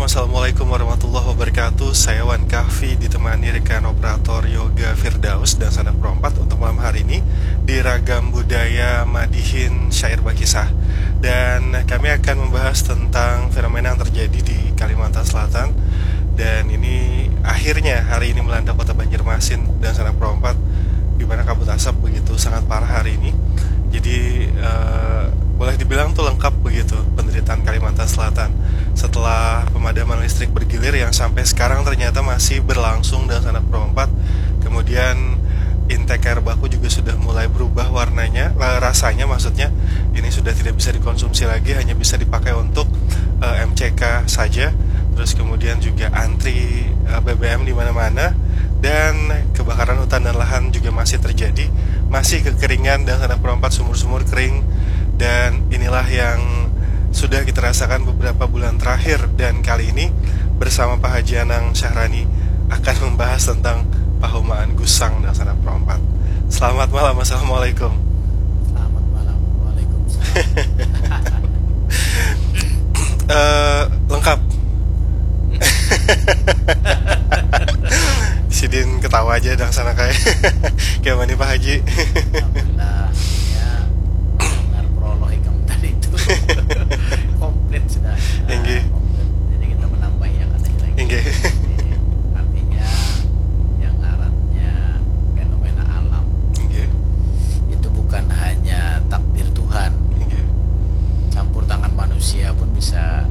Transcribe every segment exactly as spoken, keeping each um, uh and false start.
Assalamualaikum warahmatullahi wabarakatuh. Saya Wan Kahfi ditemani rekan operator Yoga Firdaus dan Sanak Perompat untuk malam hari ini di Ragam Budaya Madihin Syair Bakisah. Dan kami akan membahas tentang fenomena yang terjadi di Kalimantan Selatan. Dan ini akhirnya hari ini melanda kota Banjarmasin dan Sanak Perompat, di mana kabut asap begitu sangat parah hari ini. Jadi eh, boleh dibilang tuh lengkap begitu penderitaan Kalimantan Selatan. Setelah pemadaman listrik bergilir yang sampai sekarang ternyata masih berlangsung dan Sanak Perompat, kemudian intake air baku juga sudah mulai berubah warnanya, eh, rasanya maksudnya. Ini sudah tidak bisa dikonsumsi lagi, hanya bisa dipakai untuk eh, M C K saja. Terus kemudian juga antri eh, B B M di mana-mana, dan kebakaran hutan dan lahan juga masih terjadi, masih kekeringan dan Sanak Perompat, sumur-sumur kering. Dan inilah yang sudah kita rasakan beberapa bulan terakhir, dan kali ini bersama Pak Haji Anang Syahrani akan membahas tentang pahumaan gusang dan Sanak Perompat. Selamat malam, assalamualaikum. Selamat malam. Waalaikumsalam. Eh, lengkap. Sidin ketawa aja dang sana kayak kayak mana Pak Haji. Alhamdulillah, ya, dengar prolog ikam tadi itu komplit sudah. Inggih. Komplit. Jadi kita menambahi yang ada lagi. Inggih. Artinya yang ngarannya fenomena alam Inggih. itu bukan hanya takdir Tuhan, Inggih. Campur tangan manusia pun bisa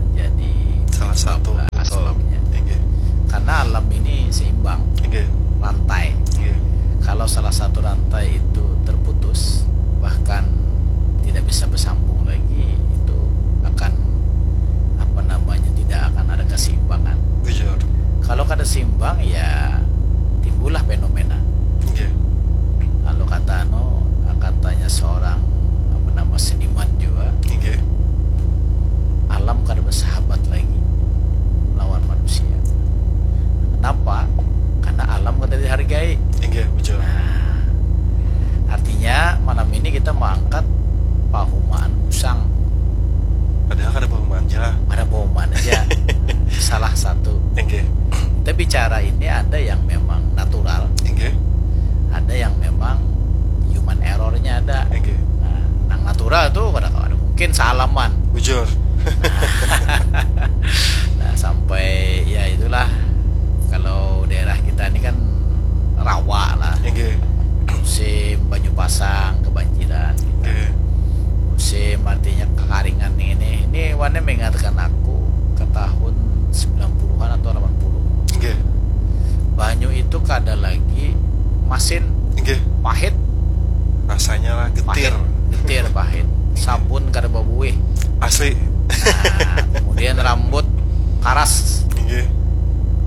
menjadi Salah satu eh, betul. Sebabnya. Inggih. Karena alam ini seimbang, Inggih. Rantai. Inggih. Kalau salah satu rantai itu terputus, bahkan tidak bisa bersambung lagi, itu akan apa namanya tidak akan ada keseimbangan. Bujur. Kalau kada seimbang ya timbullah fenomena. Inggih. Kalau kata anu katanya seorang apa nama seniman juga, Inggih. Alam kada bersahabat lagi lawan manusia. Kenapa? Karena alam kada dihargai. Inggih, bujur. Nah, artinya malam ini kita mengangkat pahumaan gusang. Padahal kada pahumaan aja lah. Ada pahumaan aja. Salah satu. Inggih. Kita bicara ini ada yang memang natural, Inggih. Ada yang memang human errornya ada. Inggih. Nah, nang natural tuh kada kada mungkin salaman. Bujur. Nah, sampai ya itulah, kalau daerah kita ini kan rawa lah. Inggih. Musim banyu pasang kebanjiran. Inggih. Musim artinya kekaringan nih ini. Ini wane mengingatkan aku ke tahun sembilan puluhan atau delapan puluh. Inggih. Banyu itu kada lagi masin, Inggih. Pahit. Rasanya lah Pahit. Getir. Getir, pahit. Sabun kada babuih. Asli. Nah, kemudian rambut karas. Inggih.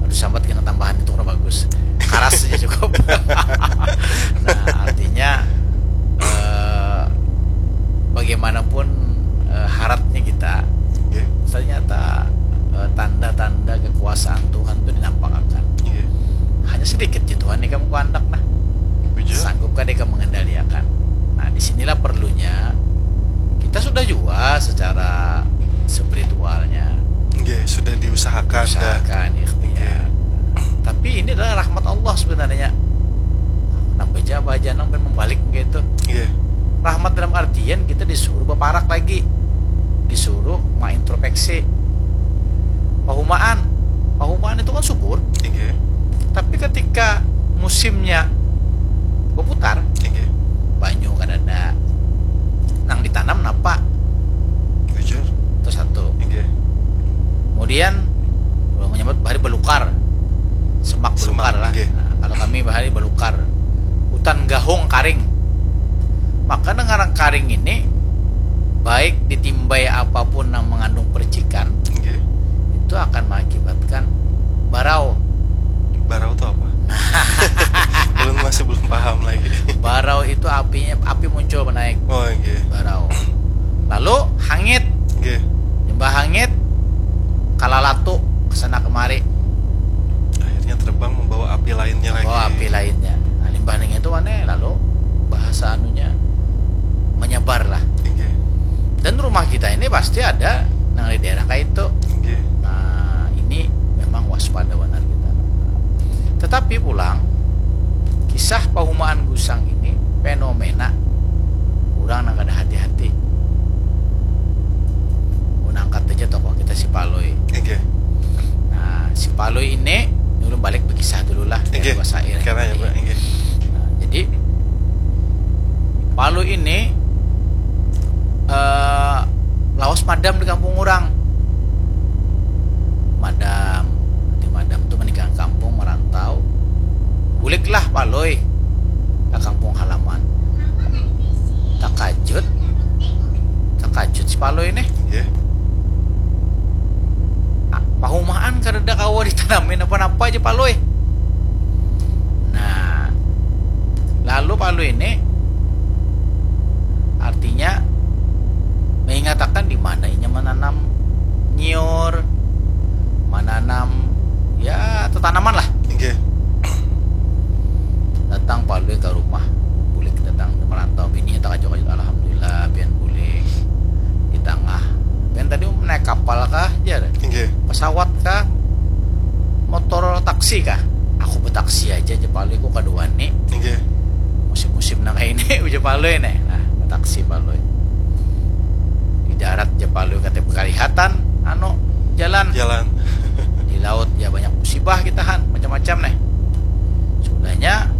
Aduh, sambat kena tambahan itu kurang bagus. Karas aja cukup. Nah, artinya eh, bagaimanapun eh, haratnya kita, Inggih. Ternyata eh, tanda-tanda kekuasaan Tuhan itu dinampakakan. Inggih. Hanya sedikit ji Tuhan ikam kuandak nah. Bujur. Sanggup kada ikam mengendaliakan. Nah, di sinilah perlunya kita sudah juga secara spiritualnya Inggih, sudah diusahakan dah. Usahakan ikhtiar. Tapi ini adalah rahmat Allah sebenarnya. Kenapa aja Abah Janang ben membalik begitu? Inggih. Rahmat dalam artian kita disuruh berparak lagi, disuruh mengintrospeksi. Pahumaan, pahumaan itu kan subur. Inggih. Tapi ketika musimnya berputar, Inggih. Banyu kadada, nang ditanam napa? Bujur. Itu satu. Inggih. Kemudian kalau menyambut bahari belukar, semak Semak, belukar lah. Inggih. Nah, kalau kami bahari belukar, hutan gahung karing. Maka dengan karing ini, baik ditimbai apapun yang mengandung percikan, Inggih. Itu akan mengakibatkan barau. Barau itu apa? Belum, masih belum paham lagi. Barau itu apinya, api muncul menaik. Oh, inggih. Barau. Lalu hangit. Inggih. Limbah hangit, kalalatu kesana kemari. Akhirnya terbang membawa api lainnya lagi. Oh, api lainnya. Nah, limbah ning itu mana lalu bahasa anunya menyebar lah. Inggih. Dan rumah kita ini pasti ada nang di daerah kayak itu. Inggih. Nah, Tapi pulang, kisah pahumaan gusang ini fenomena urang nang kada hati-hati. Mun angkat aja tokoh kita si Palui. Oke. Nah, si Palui ini, ulun balik berkisah dulu lah, biar Oke. Bahasa Ireng Karena ya, tadi. Pak. Oke. Nah, jadi Palui ini eh, lawas madam di kampung urang. Madam, di madam tu menikah kampung merantau. Buliklah Palui ke kampung halaman. Takajut, takajut si Palui nih. Oke. Ah, pahumaan kada kawa ditanamin apa-apa aja Palui. Nah, lalu Palui ini artinya mengatakan di mana inya menanam nyiur, menanam ya tetanaman lah. Oke. Datang Palui ke rumah, bulik datang merantau, bini takajut-kajut, alhamdulillah pian bulik di tengah. Pian tadi naik kapal kah, jar? Oke. Pesawat kah? Motor taksi kah? Aku betaksi aja, jar Palui, ku kada wani. Oke. Musim-musim nang kayak ini, ujar Palui nih. Nah, taksi Palui. Di darat, jar Palui, katanya bekalihatan, anu, jalan. Jalan. Di laut, ya banyak musibah kita, Han, macam-macam nih. Sudahnya,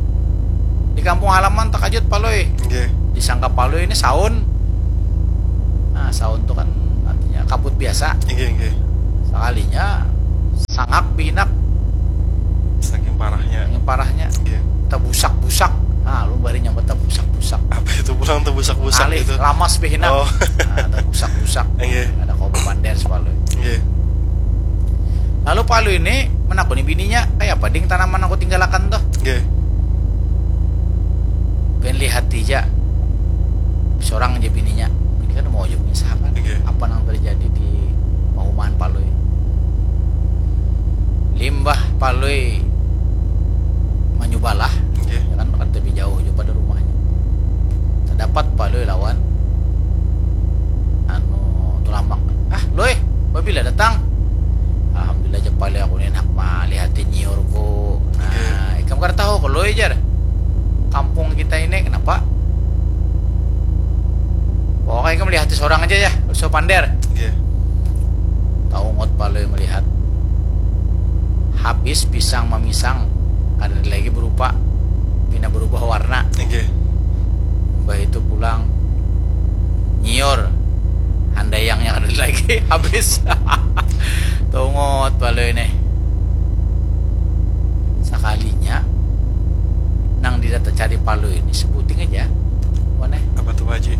di kampung halaman takajut Palui. Oke. Disangka Palui ini saun. Nah, saun tuh kan artinya kabut biasa. Oke, oke. Sekalinya, sangak binak. Saking parahnya. Saking parahnya. Oke. Tebusak-busak. Nah, lu bari nyambat tebusak-busak. Apa itu pulang tebusak-busak Alih, itu? Lamas binak. Oh. Nah, tebusak-busak. Oke. Ada kau pander si Palui. Oke. Lalu Palui ini menakuni bininya, kayak apa ding tanaman aku tinggalakan tuh? Oke. Pian lihati ja. Sorang aja bininya. Ini kan mau aja mengisahkan Oke. Apa nang terjadi di pahumaan Palui. Limbah Palui manyubalah, Oke. Ya kan, kan lebih jauh juga pada rumahnya. Terdapat Palui lawan anu Tulamak. Ah, Lui, babila datang? Alhamdulillah, jar Palui, aku ni handak malihati nyiurku. Nah, Oke. Ikam kada tahu kah, Lui, jar. Kampung kita ini, kenapa? Pokoknya ikam lihati sorang aja ya, usah pander. Oke. Taungut Palui melihat. Habis pisang mamisang, kada lagi berupa, pina berubah warna. Oke. Mbah itu pulang nyiur, handayangnya kada lagi, habis. Tungut Palui nih. Sakalinya nang didata cari Palui ini sebuting aja. Mana? Apa tuh, Pak Haji?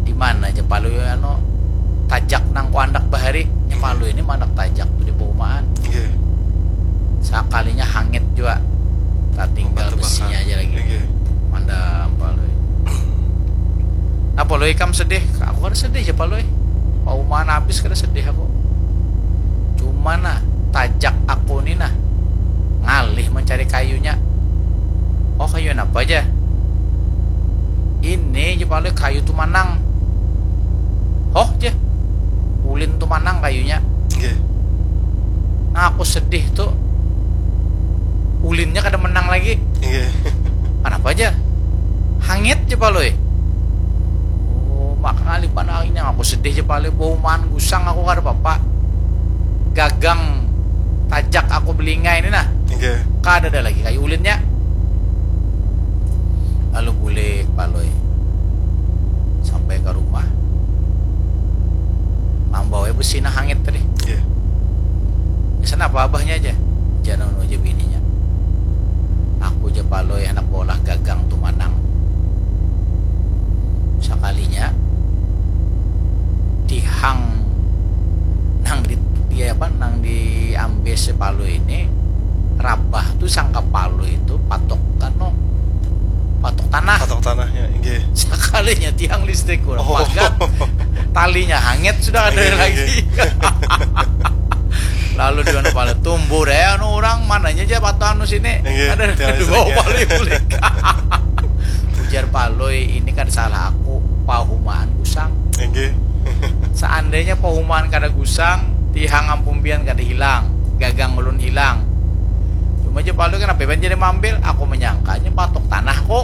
Di mana aja Palui anu tajak nang ku andak bahari? Nya Palui ini mandak tajak tuh di paumaan. Iya. Sakalinya hangit jua. Tatinggal Obat besinya tebakan. Aja lagi. Iya. Mandam Palui. Nah, Palui, ikam sedih? Aku kada sedih ja, Palui. Paumaan habis kada sedih aku. Cuma nah, tajak aku ni nah ngalih mencari kayunya. Oh, kayu apa aja? Ini ja, Palui, kayu tumanang. Oh, ja. Ulin tumanang kayunya. Iya. Nah, aku sedih tuh. Ulinnya kada menang lagi. Iya. Kenapa aja? Hangit ja, Palui. Oh, maka ngalih banar ini, aku sedih ja, Palui. Paumaan gusang aku kada apa-apa. Gagang tajak aku belingai ini nah. Iya. Kada ada lagi kayu ulinnya. Lalu bulik Palui sampai ke rumah. Mambawa besi nah hangit tadi. Iya. Pesan apa abahnya aja? Jangan aja bininya. Aku ja, Palui, anak bola gagang tumanang. Sakalinya tihang nang di, di apa, nang diambil si Palui ini rabah tuh sangka Palui itu patok anu, patok tanah. Patok tanahnya, inggih. Sakalinya tiang listrik kurang Oh. Pagat, talinya hangit sudah ada Inggih, lagi. Inggih. Lalu dia anu Palui tumbuh deh anu orang mananya aja patok anu sini. Inggih, ada tiang listrik, dibawa ya. Palui bulik. Ujar Palui, ini kan salah aku, pahumaan gusang. Inggih. Seandainya pahumaan kada gusang, tihang ampun pian kada hilang, gagang ulun hilang. Aja palu, kenapa iban jadi maambil? Aku manyangkanya patuk tanahku.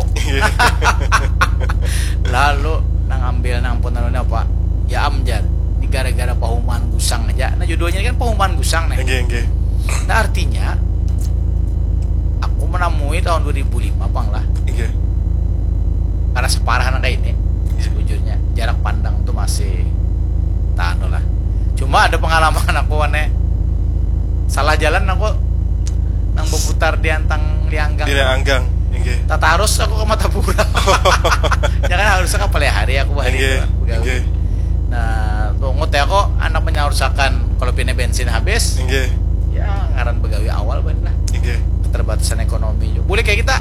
Lalu nang ambil nang pun anu ni apa? Ya am, jar. Ni gara-gara pahumaan gusang aja. Nah, judulnya ni kan pahumaan gusang nih. Nggih, nggih. Nah, artinya aku manamui tahun dua ribu lima pang lah. Nggih. Kada saparah nang kaya ini. Nggih. Sebujurnya jarak pandang tu masih taanu lah. Cuma ada pengalaman aku, wan, eh. Salah jalan aku nang baputar di Antang Lianggang. Di Lianggang, nggih. Tatarus aku ka Martapura. Ya kan, harusnya ka Palihari aku bahari. Nggih, itu, begawi. Nggih. Nah, tungut ya kok, anak menyarusakan kalau pina bensin habis. Nggih. Ya, ngaran begawi awal, ban lah. Nggih. Keterbatasan ekonomi juga. Bulik kayak kita.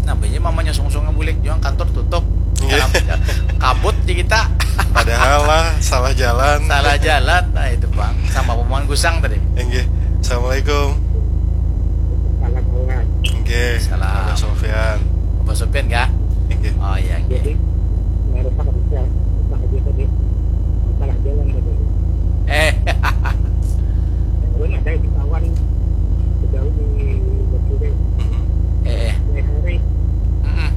Nah, banyak mamanya sungsung bulik juga, kantor tutup. Nggih. Karena kabut di kita. Padahal lah, salah jalan. Salah jalan. Nah, itu, Bang. Sama pahumaan gusang tadi. Nggih. Assalamualaikum. Salam, Bang. Nggih. Salam. Abah Sofyan. Abah Sofyan kah? Nggih. Oh, iya, nggih. Jadi, nggak rusak, bisa. Rusak aja tadi. Masalah jalan tadi. Eh. Belum ada di kawan. Jauh di Batu deh. Mm-mm. Eh, eh. Hari. Mm-mm.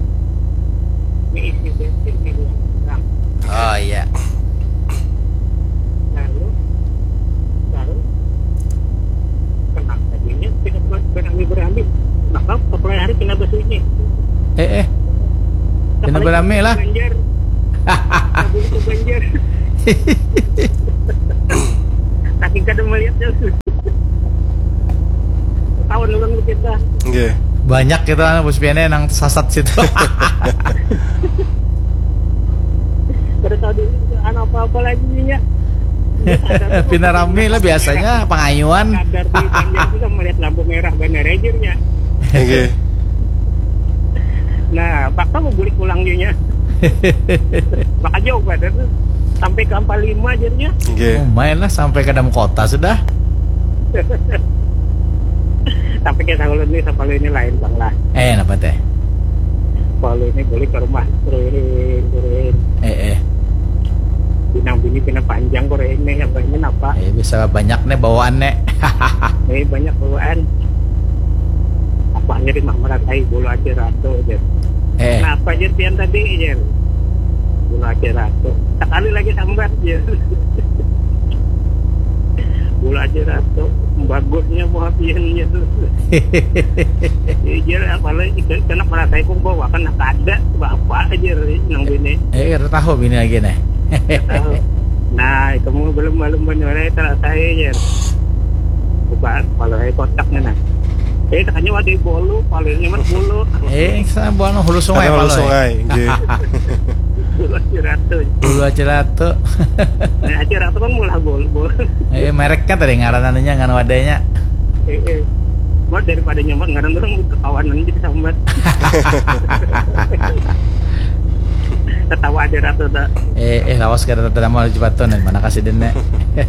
Ini isi bensin ini yang kurang. Oh, iya. Lalu, lalu, kenapa jadinya tidak buat berani-berani? Maka, kepala hari kena basuhnya. Eh, eh. Kena berani lah. Banjar. Kabur ke Banjar. Saking kada melihat jauh. Kawan ulun kita. Nggih. Banyak kita, anu, Bos Pian, eh, nang sasat situ. Kada tahu di, anu, apa-apa lagi, ya. Pina rami lah biasanya, pangayuan. Sadar di Banjar tu sama melihat lampu merah bandar aja, ya. Nggih. Nah, paksa mau bulik pulang, ya. Maka jauh pada tu. Sampai ke Ampalima, akhirnya. Nggih. Lumayan lah, sampai ke dalam kota sudah. Tapi kita kalau ini, kalau ini lain, Bang, lah. Eh, napa teh? Kalau ini boleh ke rumah, kuring, kuring. Eh, eh. Pinang bini, pinang panjang, kuring nih, apa ini, napa? Eh, bisa banyak nih bawaan nih. Eh, banyak bawaan. Apa aja di Mah Meratai, bulu aja ratu aja. Eh. Kenapa aja pian tadi, aja? Bulu aja ratu. Sekali lagi sambat, aja. Bulu aja ratu. Bagusnya buah pian, aja. Iya, apalagi kena Meratai, kok bawa kena kada, bapak aja, nang bini. Eh, kada tahu bini lagi nih. Kada tahu. Nah, itu mau belum, belum benar, eh, terasa, aja. Buka, kalau, eh, kotaknya, nah. Eh, katanya wadah bolu, palirnya mah bolu. Eh, sana buang hulu sungai. Ada hulu sungai, nggih. Bolu aja ratu. Bolu aja ratu. Nah, aja ratu kan mulah bolu, bolu. Eh, mereknya tadi ngaran anunya, ngaran wadahnya. Eh, eh. Mau daripada nyaman ngaran orang kekawanan jadi sambat. Ketawa aja ratu tak. Eh, eh, lawas kada terima rezeki patun, mana kasih dene.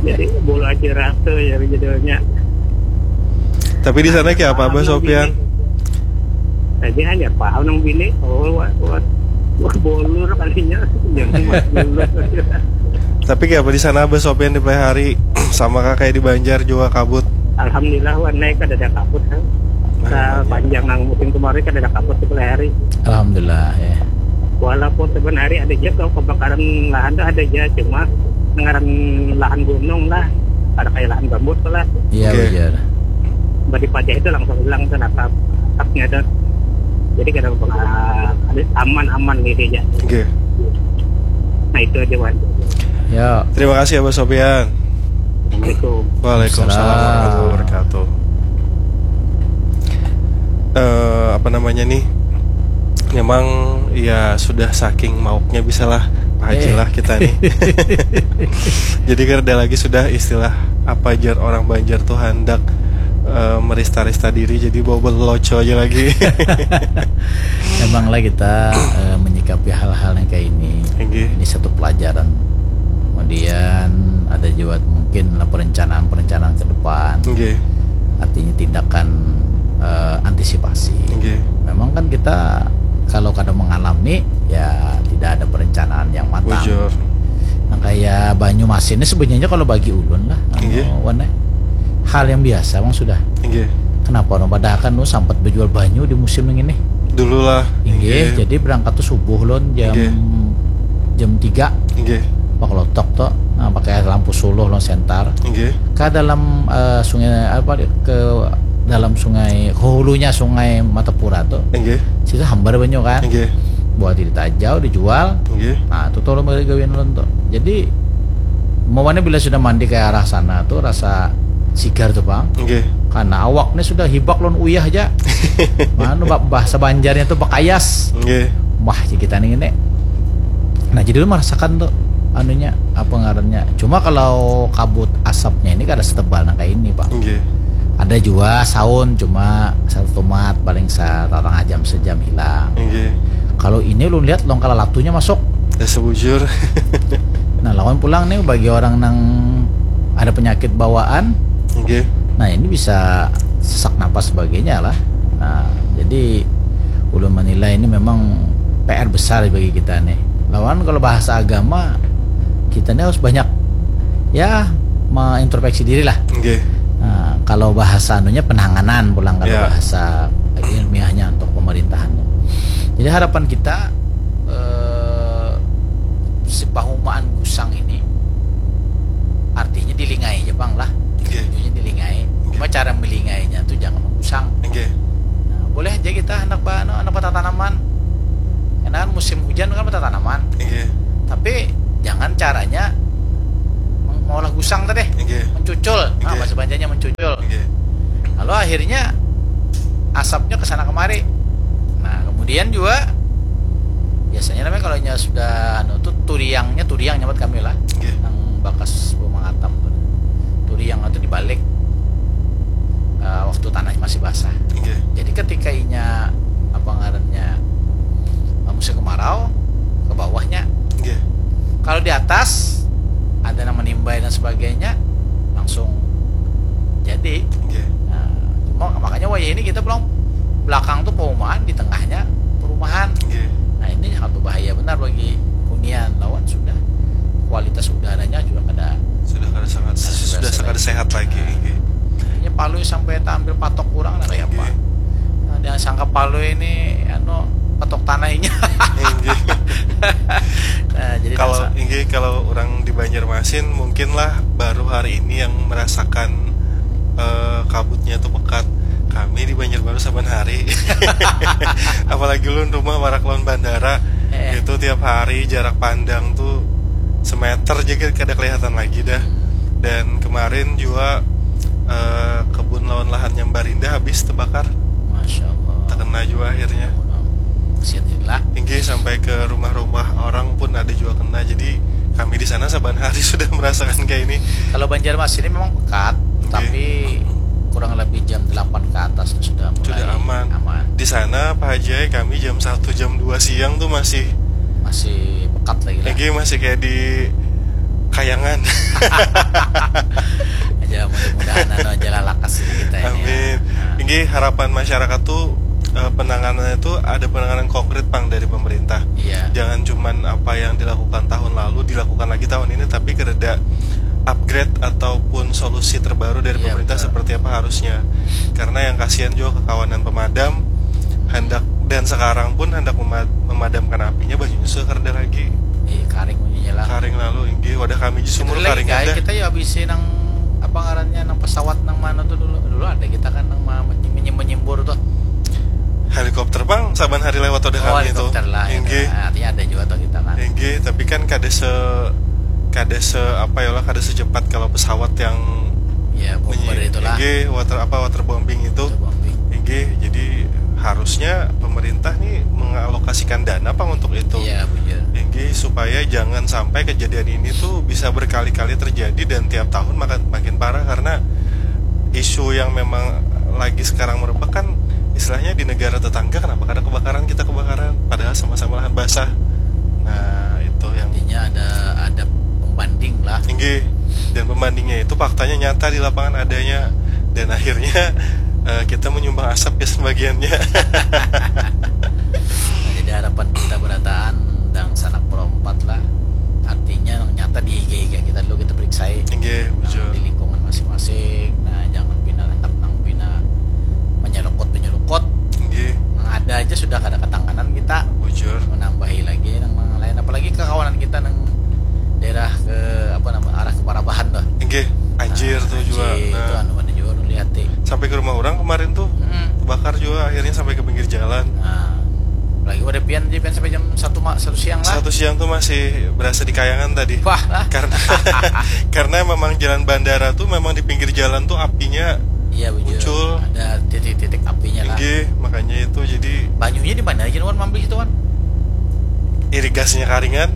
Jadi bolu aja ratu ya judulnya. Tapi di sana kayak apa, Abah Sopian? Tadi hanya paham nang bini, oh, wah, wah, wah, bolur kalinya, jangan mas bolur. Tapi kayak apa di sana, Abah Sopian, di Pelaihari? Sama kah kayak di Banjar juga kabut? Alhamdulillah, wan, naik kada ada kabut, kan. Sepanjang nang musim kemarin kada ada kabut di Pelaihari. Alhamdulillah, ya. Walaupun sebenarnya ada juga kebakaran lahan tuh ada aja, cuma ngaran lahan gunung lah, ada kayak lahan gambut lah. Iya, oke. Benar. Badi pajah itu langsung hilang tuh, natap, natapnya tuh. Jadi kada apa, aman-aman gitu aja. Oke. Nah, itu aja, Wan. Ya. Terima kasih, Abah Sopian. Assalamualaikum. Waalaikumsalam warahmatullahi wabarakatuh. Eh, apa namanya nih? Memang ya sudah saking mauknya bisalah Pak Haji lah kita nih. Jadi kada lagi sudah istilah apa jar orang Banjar tuh handak, eh, merista-rista diri, jadi bawa loco aja lagi. Emanglah kita, eh, menyikapi hal-hal yang kayak ini. Ini satu pelajaran. Kemudian ada juga mungkin lah perencanaan-perencanaan ke depan. Artinya tindakan, eh, antisipasi. Memang kan kita kalau kada mengalami, ya tidak ada perencanaan yang matang. Bujur. Nah, kayak Banyumas ini sebenarnya kalau bagi ulun lah, anu, Wan, eh, hal yang biasa, emang sudah. Nggih. Kenapa orang padahal kan lu sampat berjual banyu di musim ini? Dulu lah. Inggih, jadi berangkat tuh subuh lon jam Inggih. jam tiga Inggih. Pak Lotok tuh, nah, pakai lampu suluh lon sentar. Inggih. Ke dalam eh, sungai apa ke dalam sungai ke hulunya sungai Matapura tuh. Inggih. Situ hambar banyu kan. Inggih. Buat ditajau, dijual. Inggih. Nah, itu tuh lon gawian lon tuh. Jadi, mawannya bila sudah mandi ke arah sana tuh rasa sigar tuh, Bang. Inggih. Karena awaknya sudah hibak lon uyah aja. Manu bah- bahasa Banjarnya tuh bakayas. Inggih. Wah, ya kita nih ini. Nah, jadi lu merasakan tuh anunya apa ngarannya. Cuma kalau kabut asapnya ini kada setebal nang kayak ini, Pak. Inggih. Ada juga sound cuma satu tomat paling setengah jam sejam hilang. Inggih. Kalau ini lu lihat longkala latunya masuk. Ya sebujur. Nah, lawan pulang nih bagi orang nang ada penyakit bawaan, Inggih. Nah, ini bisa sesak napas sebagainya lah. Nah, jadi ulun menilai ini memang P R besar bagi kita nih. Lawan kalau bahasa agama kita ini harus banyak ya mengintrospeksi diri lah. Inggih. Nah, kalau bahasa anunya penanganan pulang kalau Ya. Bahasa ilmiahnya untuk pemerintahan. Jadi harapan kita eh, si pahumaan gusang ini artinya dilingai aja bang lah. Oke. Ujungnya dilingai. Cuma cara melingainya tuh jangan menggusang. Oke. Nah, boleh aja kita anak ba anu, anak batatanaman. Karena kan musim hujan kan batatanaman. Oke. Tapi jangan caranya meng- mengolah gusang tadi. Oke. Mencucul. Nah, Oke. bahasa Banjarnya mencucul. Oke. Lalu akhirnya asapnya ke sana kemari. Nah, kemudian juga biasanya namanya kalau nya sudah anu tuh turiangnya, turiang nyambat kami lah. Oke. Yang bakas pemangatam tuh. Turiang itu dibalik eh, waktu tanah masih basah. Oke. Jadi ketika inya apa ngarannya eh, musim kemarau ke bawahnya. Oke. Kalau di atas ada yang menimbai dan sebagainya langsung jadi. Oke. Nah, cuma makanya wayah ini kita pulang belakang tuh perumahan, di tengahnya perumahan. Oke. Nah, ini sangat berbahaya benar bagi hunian lawan sudah kualitas udaranya juga kada Sudah kada sangat Sudah sudah sangat kada sehat lagi. Oke. Ini Palui sampai tampil patok kurang lah kayak apa. Oke. Nah, jangan sangka Palui ini anu patok tanahnya. Oke. Nah, jadi Kalau dasar- inggih kalau orang di Banjarmasin mungkin lah baru hari ini yang merasakan eh, kabutnya tuh pekat. Kami di Banjarbaru saban hari. Apalagi ulun rumah warak lawan bandara. Eh. Itu tiap hari jarak pandang tuh semeter aja kada kelihatan lagi dah. Dan kemarin juga eh, kebun lawan lahan Nyambarinda habis terbakar. Masya Allah. Terkena juga akhirnya. Kesian lah. Inggih sampai ke rumah-rumah orang pun ada juga kena. Jadi kami di sana saban hari sudah merasakan kayak ini. Kalau Banjarmasin ini memang pekat, tapi kurang lebih jam delapan ke atas tuh sudah mulai Sudah aman. aman. Di sana Pak Haji kami jam satu jam dua siang tuh masih Masih pekat lagi lah. Inggih masih kayak di kayangan. Aja mudah-mudahan anu aja lah lakas ini kita ini. Amin. Ya. Nah, Inggih harapan masyarakat tuh eh, penanganannya tuh ada penanganan konkret pang dari pemerintah. Iya. Jangan cuman apa yang dilakukan tahun lalu dilakukan lagi tahun ini, tapi kereda upgrade ataupun solusi terbaru dari Iya, pemerintah betul. Seperti apa harusnya. Karena yang kasihan juga kekawanan pemadam hendak dan sekarang pun hendak mema- memadamkan apinya, banyunya sudah kereda lagi. Eh, karing bunyinya lah. Karing lalu inggih wadah kami di sumur Lagi karing guys, ada. Kita ya habisi nang apa ngarannya nang pesawat nang mana tuh dulu dulu ada kita kan nang ma- menyim- menyimbur tuh. Helikopter pang saban hari lewat wadah Oh, kami itu. Helikopter lah ya, Inggih. Nah, artinya ada juga tuh kita kan. Inggih, tapi kan kada se kada se apa ya lah, kada secepat kalau pesawat yang Ya, bomber menyi- itulah. Inggih, water apa waterbombing itu. Waterbombing. Inggih, jadi harusnya pemerintah nih mengalokasikan dana apa untuk itu. Iya, bujur. Inggih, supaya jangan sampai kejadian ini tuh bisa berkali-kali terjadi dan tiap tahun makin makin parah karena isu yang memang lagi sekarang merebak kan istilahnya di negara tetangga kenapa kada kebakaran kita kebakaran padahal sama-sama lahan basah. Nah, itu yang Artinya ada ada pembanding lah. Inggih. Dan pembandingnya itu faktanya nyata di lapangan adanya dan akhirnya eh, kita menyumbang asap ya sebagiannya. Nah, jadi harapan kita berataan dan sanak perompat lah. Artinya yang nyata di higa-higa kita dulu kita periksai. Inggih, Nah, bujur. Di lingkungan masing-masing. Nah, jangan pina hendak nang pina Eh, anjir tuh juga. Anjir, itu nah, anu mana juga ulun lihati. Sampai ke rumah orang kemarin tuh, hmm, terbakar juga, akhirnya sampai ke pinggir jalan. Nah, lagi pada pian, pian sampai jam satu ma-, satu siang lah. Satu siang tuh masih berasa di kayangan tadi. Wah lah. Karena karena memang jalan bandara tuh memang di pinggir jalan tuh apinya, iya, bujur, muncul. Ada titik-titik apinya lah. Inggih, makanya itu jadi. Banyunya di mana aja, Wan, mambi itu, Wan? Irigasinya karingan.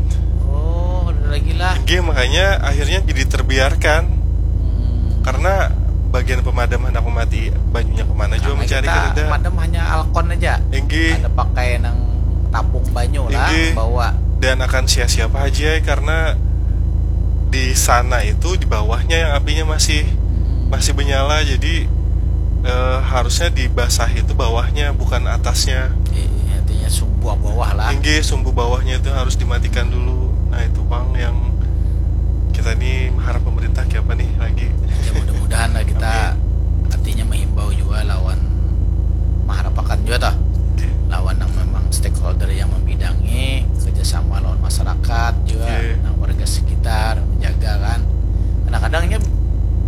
Oh, ada lagi lah. Inggih, makanya akhirnya jadi terbiarkan. Hmm. Karena bagian pemadam hendak memati banyunya kemana juga. Karena mencari kita kereda. Pemadam hanya alkon aja. Inggih. Ada pakai nang tapung banyu lah, inggih, bawa. Dan akan sia-sia apa aja, karena di sana itu di bawahnya yang apinya masih, hmm, masih menyala, jadi eh, harusnya dibasah itu bawahnya, bukan atasnya. Iya, artinya sumbu bawah lah. Inggih, sumbu bawahnya itu harus dimatikan dulu. Nah, itu pang yang kita nih mengharap pemerintah kayak apa nih lagi. Ya, mudah-mudahan lah kita, amin, artinya menghimbau juga lawan, mengharapakan juga toh. Oke. Lawan yang memang stakeholder yang membidangi kerjasama lawan masyarakat juga, oke, nang warga sekitar menjaga kan. Kadang-kadangnya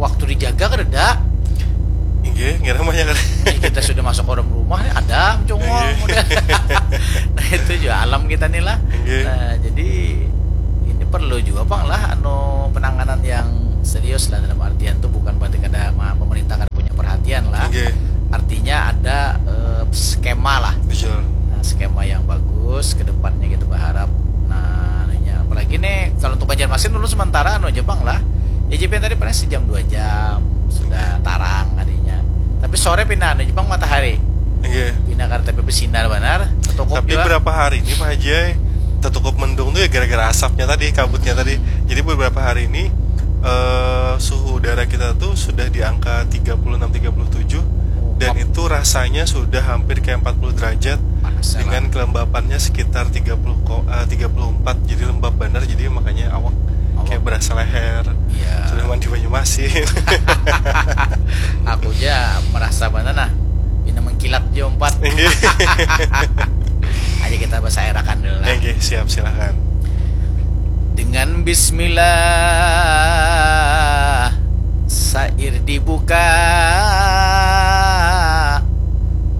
waktu dijaga kereda. Inggih, ngira mah ya kan. Ini kita sudah masuk orang rumah nih, ada congol, inggih, udah. Nah, itu juga alam kita nih lah. Inggih. Nah, jadi ini perlu juga pang lah anu penanganan yang serius lah, dalam artian tuh bukan berarti kada ma-, pemerintah kada punya perhatian lah. Inggih. Artinya ada eh, skema lah. Betul. Nah, skema yang bagus ke depannya kita berharap. Nah, anunya, apalagi nih kalau untuk Banjarmasin dulu sementara anu aja pang lah. Ya, J P tadi paling sejam dua jam sudah tarang tadinya. Tapi sore pindah anu aja pang matahari. Oke. Pindah karena tapi bersinar benar. Tapi juga berapa hari ini, Pak Haji, ai, tertutup mendung tuh ya gara-gara asapnya tadi, kabutnya tadi. Jadi beberapa hari ini eh, suhu udara kita tuh sudah di angka tiga puluh enam, tiga puluh tujuh, dan itu rasanya sudah hampir kayak empat puluh derajat. Panas ya, dengan kelembapannya sekitar tiga puluh ko-, eh, tiga puluh empat, jadi lembab benar, jadi makanya awak, awak kayak berasa leher. Iya. Sudah mandi banyu masin. Aku aja merasa mana nah, ini mengkilat jompat. Inggih. Aja kita bahasa erakan dulu lah. Oke, siap, silakan. Dengan bismillah, sair dibuka,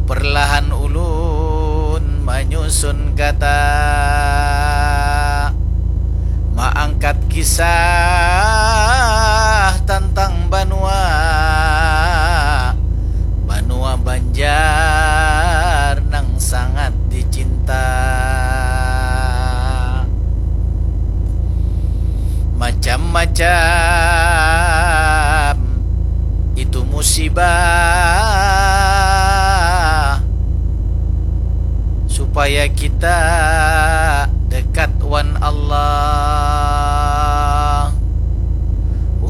perlahan ulun manyusun kata, maangkat kisah tentang banua, banua Banjar nang sangat dicinta. Macam-macam itu musibah, supaya kita dekat wan Allah.